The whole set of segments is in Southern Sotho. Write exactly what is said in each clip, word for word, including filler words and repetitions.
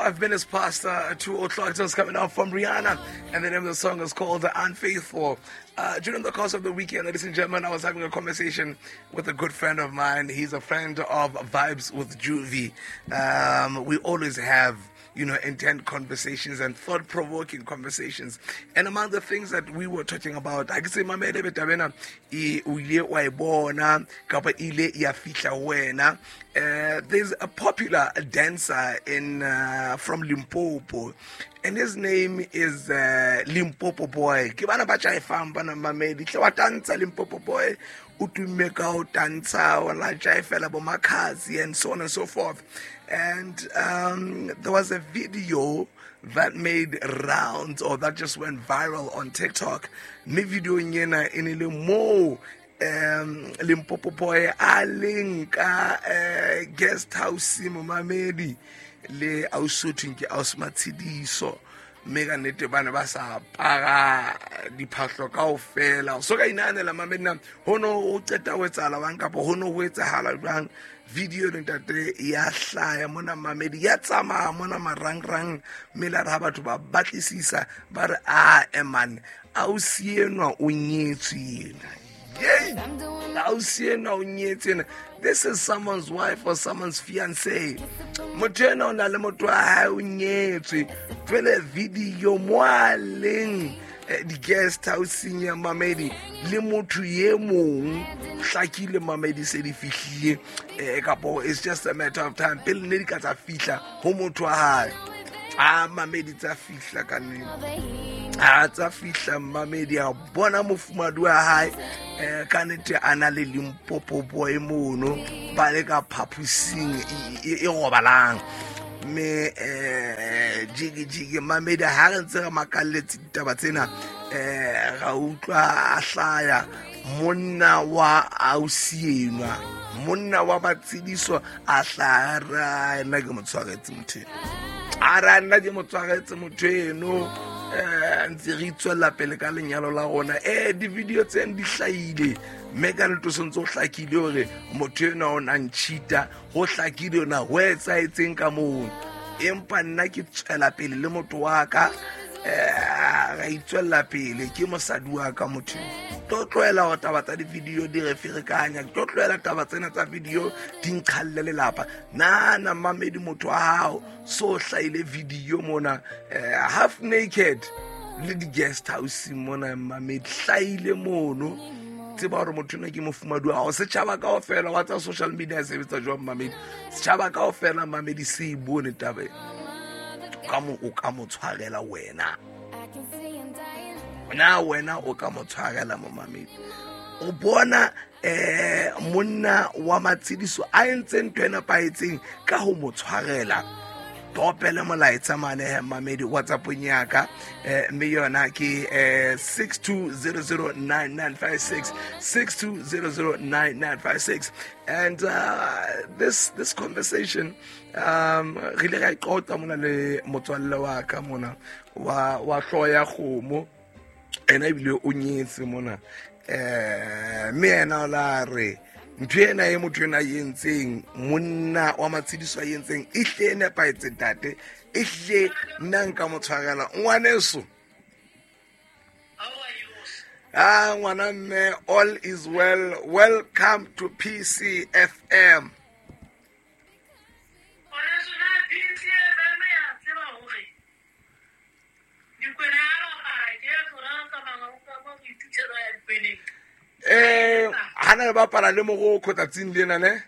Twenty-five minutes past uh, two o'clock. Just coming out from Rihanna, and the name of the song is called "Unfaithful." Uh, during the course of the weekend, ladies and gentlemen, I was having a conversation with a good friend of mine. He's a friend of Vibes with Juvie. Um, we always have, you know, intent conversations and thought-provoking conversations. And among the things that we were talking about, I can say, Mama Edebe Tabena, e o ile wa e bona, kapa ile ya fihla ho wena. Uh, there's a popular dancer in uh, from Limpopo, and his name is uh, Limpopo Boy. Ke bana ba jaifang bana mamedi. Hle wa tantsha Limpopo Boy, o tumme ka ho tantsha, wa la jaifela bo Makhadzi and so on and so forth. And um, there was a video that made rounds, or that just went viral on TikTok. Mme video ena e ne le moo um Limpopo Boy a leng ka eh, guest house momamedi le ausi ke ausi Matshidiso, mme ka nnete ba ne ba sa apara diphahlo kaofela. So ka inahanela mamedi na ho no ho qeta ho etsahala jwang, kapa ho no ho etsahala jwang. Video le ntate ya hlaya mona mamedi, ya tsamaya mona marangrang, mme la re ha batho ba batlisisa ba re a eman ausi enwa o nyetswe yena. Yay! Ausi enwa o nyetswe yena. This is someone's wife or someone's fiancé. Motho enwa o na le motho wa hae, o nyetswe. Jwale video mo a leng, eh, di-guest house-eng ya mamedi le motho e mong, hlakile mamedi se di fihlile, eh, kapo it's just a matter of time pele ne di ka tsa fihla ho motho wa hae. Ah, mamedi tsa fihla ka nnete. Ah, tsa fihla mamedi, a bona mofumahadi wa hae, eh, ka nnete a na le Limpopo Boy mono, ba le ka phaposing e, e, e robalang. Mme, eh, jiki jiki mamedi ha re ntse re makalletse ditaba tsena, eh, ra utlwa a hlaya monna wa ausi enwa, monna wa Matshidiso a hlaya, ra nna ke mo tshwaretse motho eno. A ra nna ke mo tshwaretse motho eno, eh, ntse re itswella pele ka lenyalo la rona. Eh, di-video tseno di hlahile, mme ka nnete o sentse o hlakile hore motho enwa o na ntjhita, ho hlakile hore na ho etsahetseng ka moo. Empa nna ke tswela pele le motho wa ka, eh, ra itswella pele, ke mosadi wa ka motho. Tlo tlohela hore taba tsa di-video di re ferekanya, ke tlo tlohela taba tsena tsa video di nqhalle lelapa. Nahana mamedi motho wa hao so hlahile video mona, eh, half naked le di-guest house mona mamedi, hlahile mono. Tseba hore motho enwa ke mofumahadi wa hao. Setjhaba kaofela wa tsa social media e sebetsa jwang mamedi? Setjhaba kaofela mamedi se e bone taba ena. O ka mo, o ka mo tshwarela wena. Na wena o ka mo tshwarela mo mamedi? O bona, eh, monna wa Matshidiso a entse ntho e nepahetseng ka ho mo tshwarela. Topele molaetsa mane he mamedi WhatsApp-ong ya ka, eh, mme yona ke, eh, six two zero zero nine nine five six, six two zero zero nine nine five six. And, uh, this, this conversation, um, re ile ra e qoqa mona le motswalle wa ka mona, wa, wa hlooho ya kgomo. Ena ebile o nyetse mona. Eh, mme yena o la re ntho ena e motho ena a entseng, monna wa Matshidiso a entseng, e hle e nepahetse ntate, e hle nna nka mo tshwarela. Ngwaneso. Ah, ngwana mme, all is well. Welcome to P C F M. Ngwaneso, na P C F M ya tseba hore dikwena ha ba apara, ke ya tsona ba tsamayang ho ka mo ho ithutela ya dikweneng. Eh, ha na le bapala le Morocco tsatsing lena ne?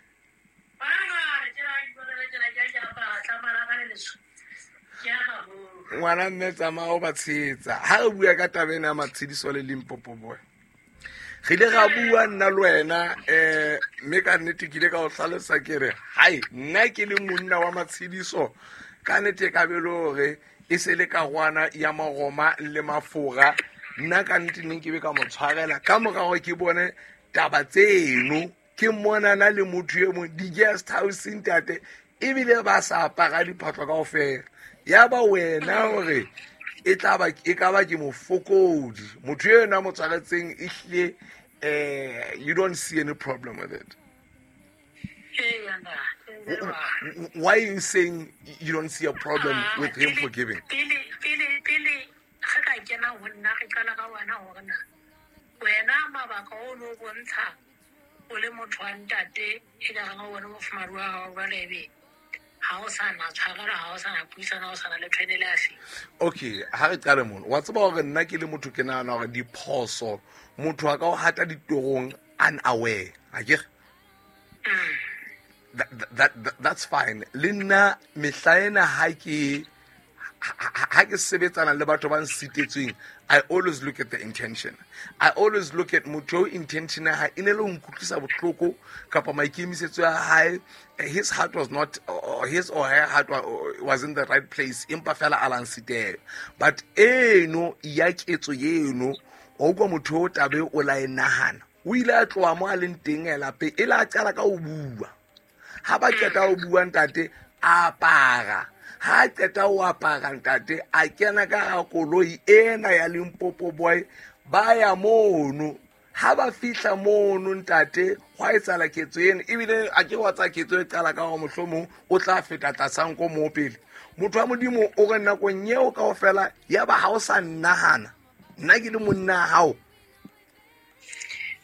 Ngwana mme tsamaya o ba tshehetsa. Ha re bua ka taba ena ya Matshidiso le Limpopo Boy, re ile ra bua nna le wena, eh, mme ka nnete ke ile ka o hlalosa ke re, hai, nna ke le monna wa Matshidiso, ka nnete e ka be le hore e se le karwana ya Maroma le Mafora, nna ka nnete neng ke be ka mo tshwarela. Ka mora hore ke bone taba tseno, ke monana le motho e mong di-guest house ntate, ebile ba sa apara diphahlo kaofela. Ya ba wena hore e tla ba, e ka ba ke mofokodi. Motho enwa a mo tshwaretseng ehlile, eh, you don't see any problem with it. Ee, ntate. Why are you saying you don't see a problem Ah, with him pele- forgiving? Pele pele pele ge ka kena ho nna re qala ka wena hore na wena mabaka o no bontsha o le motho wa ntate e ka reng o bone mofumahadi wa hao jwale ebe ha o sa na tshwarelo ha o sa na puisano ha o sa na le tshwanelo ya feng. Okay, ha re qale mono. Wa tseba hore nna ke le motho ke nahana hore diphoso motho a ka o hata ditorong unaware. Akere? Mm. That, that, that, that's fine. Le nna mehla ena ha ke ha ha ke sebetsana le batho ba nsitetsweng, I always look at the intention. I always look at motho eo intention ya hae e ne le ho nkutlwisa bohloko kapa maikemisetso a hae, his heart was not, or his or her heart was in the right place, empa fela a la nsitela. But eno ya ketso eno, wa utlwa motho o tabe o la e nahana. O ile a tloha mo a leng teng a lapeng, e le a qala ka ho bua. Ha ba qeta ho bua ntate, a apara. Ha qeta ho apara ntate, a kena ka hara koloi ena ya Limpopo Boy, ba ya mono. Ha ba fihla mono ntate, hwa etsahala ketso ena. Ebile a ke wa tsa ketso e qala ka hore mohlomong o tla feta tlasa nko moo pele. Motho wa Modimo o re nakong eo kaofela, ya ba ha o sa nnahana, nna ke le monna wa hao.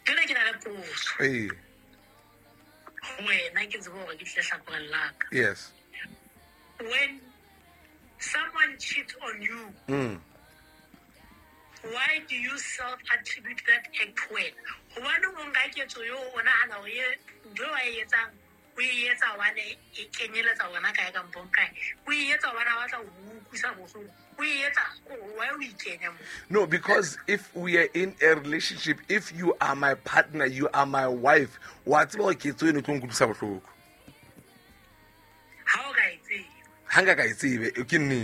Jwale ke na le potso. Ee. Ho wena ke tsebe hore ke tle hlakoreng la ka. Yes. When someone cheats on you, Mm. why do you self-attribute that act to wena? Hobane o nka ketso eo o nahana hore e ntho eo a e etsang, o e etsa hobane e kenyeletsa wena kae kampong kae. O e etsa hobane a batla ho o utlwisa bohloko. O e etsa, why o ikenya moo? No, because if we are in a relationship, if you are my partner, you are my wife, wa tseba hore ketso eno e tlo nkutlwisa bohloko. Ha o ka e tseba. Ha nka ka e tsebe, ke nnete.